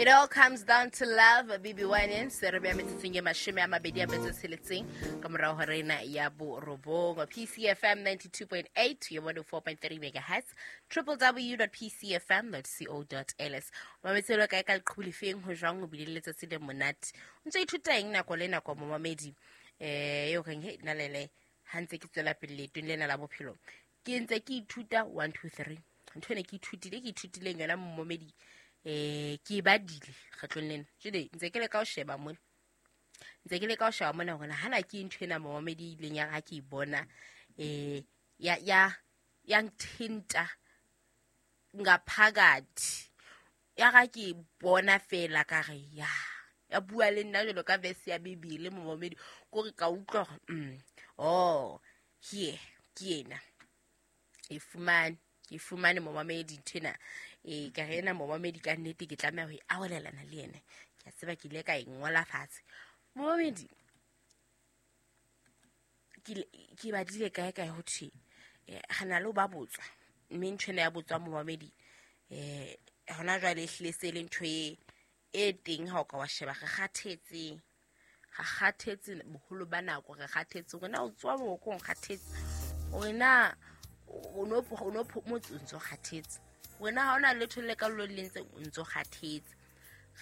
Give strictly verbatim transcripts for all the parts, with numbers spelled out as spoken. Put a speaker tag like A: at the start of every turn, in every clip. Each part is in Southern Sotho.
A: It all comes down to love, B B Winans. Se re beha metsotsong e mashome a mabedi a metso e tsheletseng ka morao ho rena ya borobong. P C F M ninety-two point eight, ya one oh four point three megahertz, triple w dot p c f m dot co dot l s. Mametse lo kae ka leqhubu lefeng ho jwang ho bile le letsatsi le monate. O ntse ithuta eng nako le nako momamedi? Eh, eo reng he nna lele ha ntse ke tswela pele leetong lena la bophelo. Ke ntse ke ithuta one two three. Ntho ene ke ithutile, ke ithutileng yona momamedi. Eh, ke badile kgetlong lena. Jwale ntse ke leka ho sheba mona. Ntse ke leka ho sheba mona hore hana ke ntho ena momamedi e ileng ya ha ke e bona, eh, ya, ya, ya nthinta ngaphakathi. Ya ga ke bona fela ka re ya. Ya bua le nna jwalo ka verse ya Bibele momamedi, ko re ka utlwa hore, mm, oh, here ke ena. E fumane, ke fumane momamedi ntho ena. Eh, ka re ena momamedi ka nnete ke tlameha ho e arolelana le yena. Ke a tseba ke ile ka e ngola fatshe. Momamedi, ke le-, ke badile kae kae ho thwe, eh, re na le ho ba botswa. Mme ntho ena ya botswa momamedi, eh, hona jwale e hlile se le ntho e, e teng ha o ka wa sheba, re kgathetse. Re kgathetse boholo ba nako, re kgathetse. Hore na o tsoha borokong, kgathetse. Hore na o no, o no phomotse, o ntso kgathetse. Hore na ha hona letho le ka lo le ntse o ntso kgathetse.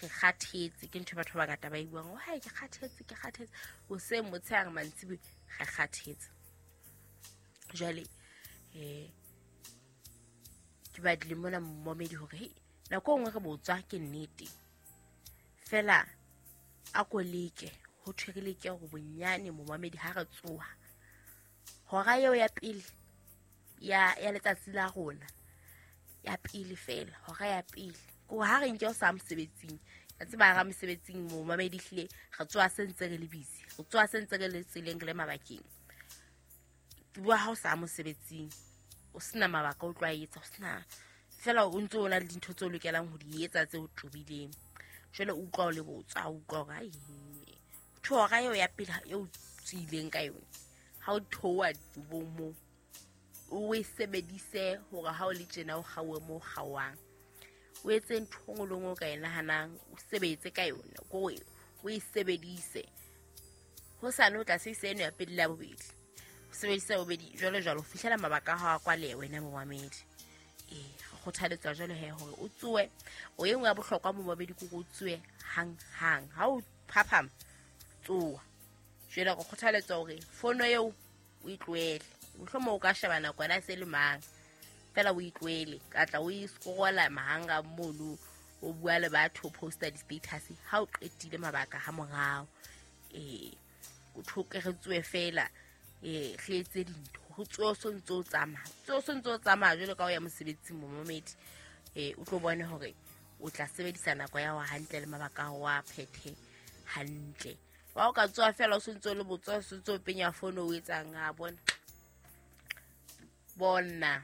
A: Re kgathetse, ke ntho batho ba bangata ba e buang. Oh, hai, ke kgathetse, ke kgathetse. Hoseng, motshehare, mantsiboya, re kgathetse. Jwale, eh, ke badile mona momamedi hore, hei, nako e nngwe re botswa ke nnete. Fela, a ko leke, ho thwe re leke hore bonyane momamedi ha re tsoha. Hora eo ya pele, ya, ya letsatsi la rona, ya pele fela, hora ya pele. Ko ha re nke o sa mosebetsing, ka tseba ha mosebetsing momamedi hlile re tsoha se ntse re le busy, re tsoha se ntse re le tseleng re le mabakeng. Ke bua ha o sa mosebetsing, o sena mabaka o tlo a etsa, o sena fela o ntse o na le dintho tse o lokelang ho di etsa tse o tobileng. Jwale o utlwa o le botswa, o utlwa hore, ai, ho hora eo ya pele eo o tswileng ka yona, ha o theoha dibong moo, o e sebedise hore ha o le tjena o kgaohe moo o kgaohang. O etse ntho e nngwe le nngwe o ka e nahanang, o sebetse ka yona, ko o, o e sebedise. Hosane o tla sebedisa eno ya pele le ya bobedi. O sebedise ya bobedi jwalo jwalo ho fihlela mabaka a hao a kwaleha wena momamedi. Eh, re kgothaletswa jwalo he hore o tsohe. O e nngwe ya bohlokwa momamedi ke hore o tsohe hang hang. Ha o phaphama, tsoha. Jwale re kgothaletswa hore fono eo o e tlohele. Mohlomong o ka sheba nako yona e se le mang, fela o e tlohele. Ka tla o e scrolla mahanga mono, o bua le batho, o posta di-status ha o qetile mabaka ha morao. Eh, o thoke re tsohe fela, eh, re etse dintho. Ho tsohe o so ntse o tsamaya. Tsohe o so ntse o tsamaya jwalo ka o ya mosebetsing momamedi. Eh, o tlo bone hore o tla sebedisa nako ya hao hantle le mabaka a hao a phethe hantle. Wa o ka tsoha fela o so ntse o le botswa, o so ntse o penya fono o etsang, a bona. Bona.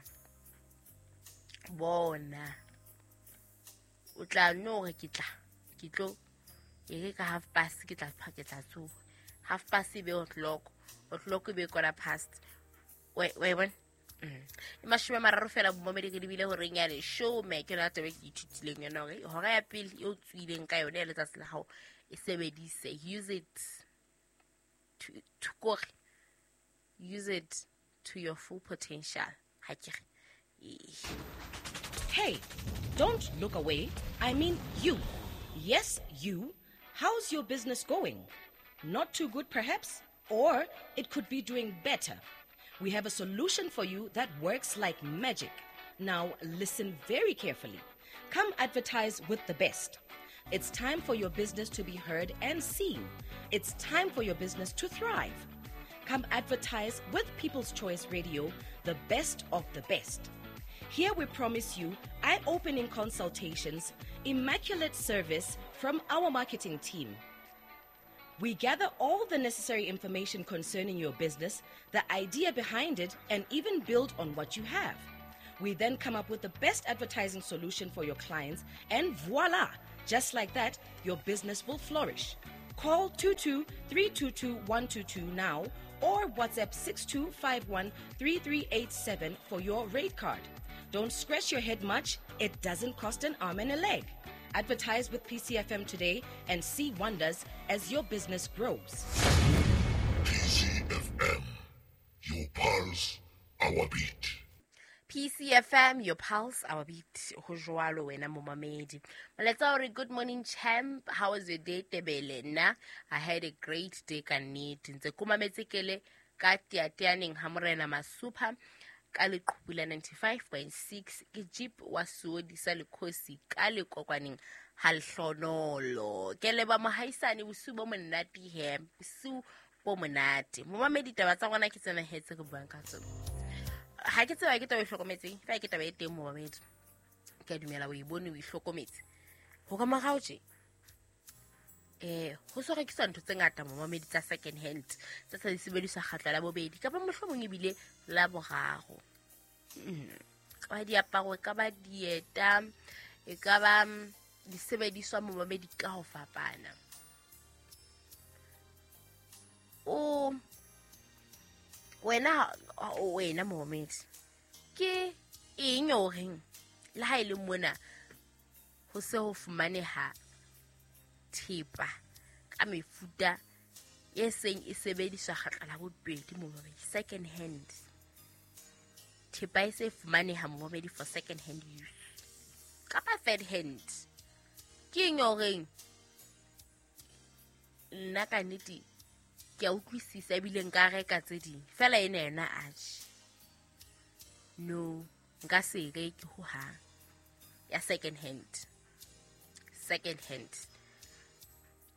A: Bona. O tla no hore ke tla, ke tlo, e re ka half past ke tla pha, ke tla tsoha. Half past e be o'clock, o'clock e be quarter past. Wa, wa e bona? Mm. E mashome a mararo fela momamedi re lebile horeng ya leshome, ke yona taba e ke ithutileng yona hore hora ya pele eo tswileng ka yona ya letsatsi la hao e sebedise. Use it to, to kore. Use it to your full potential. Ha ke re. Eh.
B: Hey, don't look away. I mean you. Yes, you. How's your business going? Not too good, perhaps? Or it could be doing better. We have a solution for you that works like magic. Now, listen very carefully. Come advertise with the best. It's time for your business to be heard and seen. It's time for your business to thrive. Come advertise with People's Choice Radio, the best of the best. Here we promise you eye-opening consultations, immaculate service from our marketing team. We gather all the necessary information concerning your business, the idea behind it, and even build on what you have. We then come up with the best advertising solution for your clients, and voila! Just like that, your business will flourish. Call two two three two two one two two now or WhatsApp six two five one three three eight seven for your rate card. Don't scratch your head much. It doesn't cost an arm and a leg. Advertise with P C F M today and see wonders as your business grows.
C: P C F M, your pulse, our beat.
A: P C F M, your pulse, our beat. Ho jwalo wena momamedi. Molaetsa o re, good morning champ. How was your day, Tebele? Nna, I had a great day ka nnete. Ntse ke mametse kele ka teateaneng ha morena Masupha ka leqhubu la ninety-five point six ke jeep wa Suodi sa Lekhosi ka lekokwaneng ha lehlonolo. Ke leba mohaisane bosiu bo monate he. Bosiu bo monate. Momamedi, taba tsa rona ke tsena hetse re buang ka tsona. Ha ke tseba ke taba e hlokometseng, fa ke taba e teng momamedi. Ke a dumela o e bone o e hlokometse. Ho ka morao tje, eh, ho so rekiswa ntho tse ngata momamedi tsa second hand, tsa sa di sebediswa kgatla la bobedi kapa mohlomong ebile la boraro. Mm. Ka diaparo, ka ba dieta, e ka ba disebediswa momamedi ka ho fapana. O wena wena momamedi, ke eng o reng le ha e le mona ho se ho fumaneha thepa ka mefuta e seng e sebediswa kgatla la bobedi momamedi, second hand. Thepa e se fumaneha momamedi for second hand use kapa third hand. Ke eng o reng nna ka nnete ke a utlwisisa ebile nka reka tse ding fela ena yona atjhe, no, nka se reke hohang ya second hand. Second hand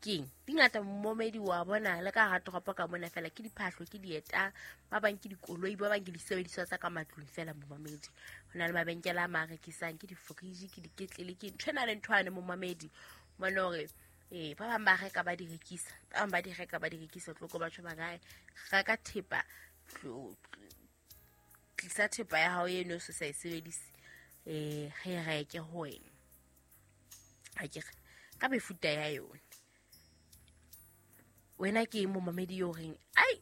A: keng di ngata momamedi wa bona le ka hara toropo ka mona fela ke diphahlo, ke dieta, ba bang ke dikoloi, ba bang ke disebediswa tsa ka matlung fela momamedi. Ho na le mabenkele a ma rekisang ke di-fridge, ke diketlele, ke ntho ena le ntho ane momamedi. Mona hore eh ba bang ba reka ba di rekisa, ba bang ba di reka ba di rekisa, tlo ko batho ba kae reka thepa, tlisa thepa ya hao eno se sa e sebedise, eh re reke ho wena. Ha ke re ka mefuta ya yona. Wena ke momamedi yo reng ai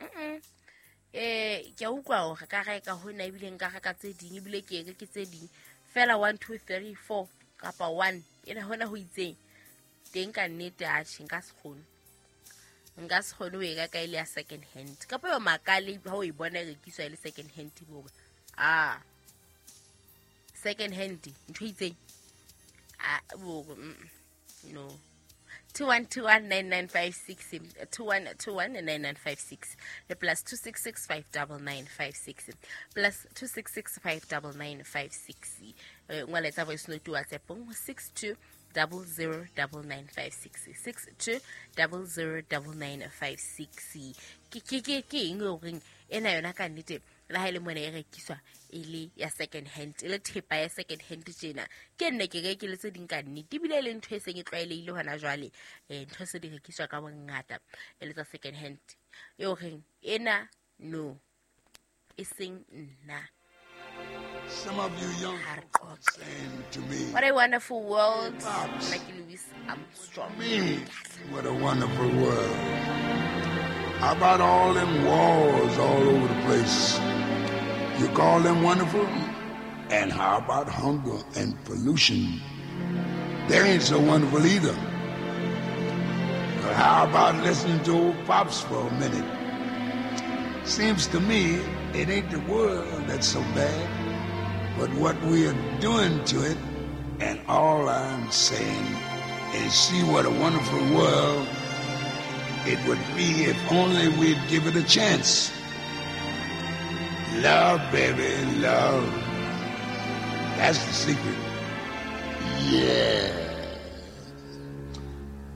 A: mm eh ke a utlwa hore ka reka hona ebile nka reka tse ding ebile ke reke tse ding fela one two three four kapa one ena hona ho itseng teng ka nnete atjhe nka se kgone, nka se kgone ho e reka e le ya second hand kapa yo makale ha o e bona e rekiswa e le second hand bo ah second hand ntho e itseng ah bo no. Two one two one nine nine five six, two one two one nine nine five six, the plus two six six five double nine five six, plus two six six five double nine five six. Ngwaletsa voice note WhatsApp six two double zero double nine five six, six two double zero double nine five six. Ke ke ke ke eng o reng ena yona ka nnete le ha e le mona e rekiswa e le ya second hand, e le thepa ya second hand tjena. Ke nne ke reke le tse ding ka nnete ebile e le ntho e seng e tlwaelehile hona jwale, eh ntho se di rekiswa ka bongata e le tsa second hand. Eo reng ena no e seng nna.
C: Some of you young saying to me,
A: what a wonderful world, like Louis Armstrong.
C: Me, what a wonderful world. How about all them wars all over the place? You call them wonderful? And how about hunger and pollution? They ain't so wonderful either. But how about listening to old Pops for a minute? Seems to me it ain't the world that's so bad, but what we are doing to it. And all I'm saying is see what a wonderful world it would be if only we'd give it a chance. Love, baby, love. That's the secret. Yeah.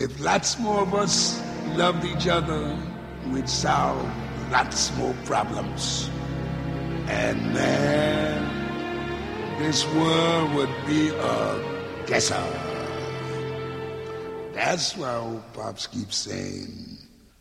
C: If lots more of us loved each other, we'd solve lots more problems. And man, this world would be a guesser. That's why old Pops keeps saying,